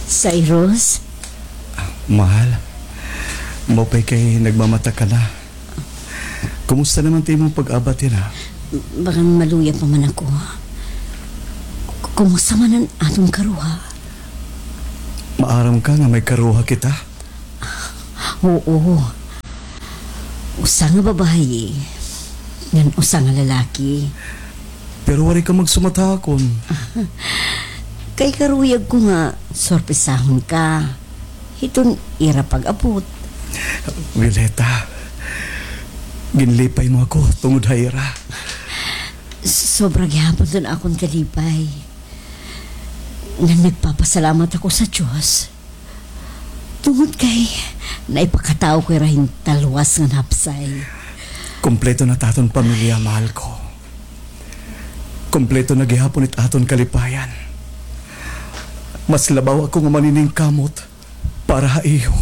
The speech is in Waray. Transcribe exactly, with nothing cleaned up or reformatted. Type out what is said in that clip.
Cyrus? Mahal, maupay kay nagmamata ka na. Kumusta naman it imo pag-abat hira? Bagan maluya pa man ako. Kumusta man an aton karuha? Maaram ka nga may karuha kita? Oo. Usa nga babaye, ngan usa nga lalaki. Pero waray ka magsumat ha akon. Kay karuyag ko nga sorpresahon ka hiton ira pag-abot. Violeta, ginlipay mo ako tungod ha ira. Sobra gihapon iton akon kalipay. Ngan nagpapasalamat ako sa Dios. Tungod kay naipakatawo ko ira hin talwas ngan hapsay. Kompleto na it aton pamilya, mahal ko. Kompleto na gihapon it aton kalipayan. Mas labaw ako nga maniningkamot para ha iyo.